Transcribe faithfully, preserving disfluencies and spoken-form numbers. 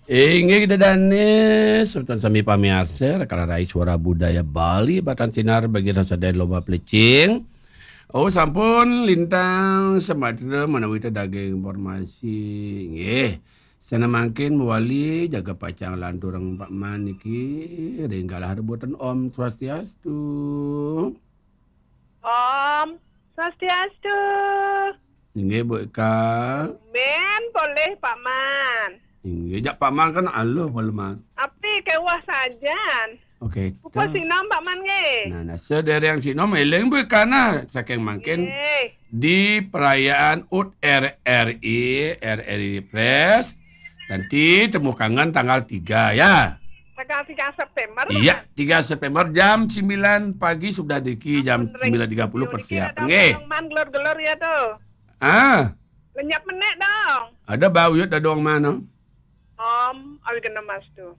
Inggih, Ida Danis, semeton sami pamiarsa, Rekala Rai Suara Budaya Bali, batan sinar bagi rasa dan lomba pelecing. Oh, sampun lintang sematra menawi daging informasi. Inggih. Sana mangkin mawali jaga pacang lanturang Pak Man niki ring galah rebutan. Om Swastiastu. Om Swastiastu. Inggih, Bu Eka. Men boleh, Pak Man. Inggih, jak Pak Man kan aluh, Pak Man. Api kewah sajan. Oke. Apa sinom, Pak Man, nggih? Nah, nah, sedereng sinom eling, Bu Eka, nah, saking mangkin nggih. Di perayaan U T R R I, R R I Press, nanti temu kangen tanggal tiga, ya. Tanggal tiga September, iya, Pak Man. Tiga September jam sembilan pagi sudah diki, jam sembilan tiga puluh persiapan. Nggih. Man gelor-gelor ya tuh. Ah. Lenyap menek dong. Ada bau ya dadong mana? Om, awi kena mas tuh.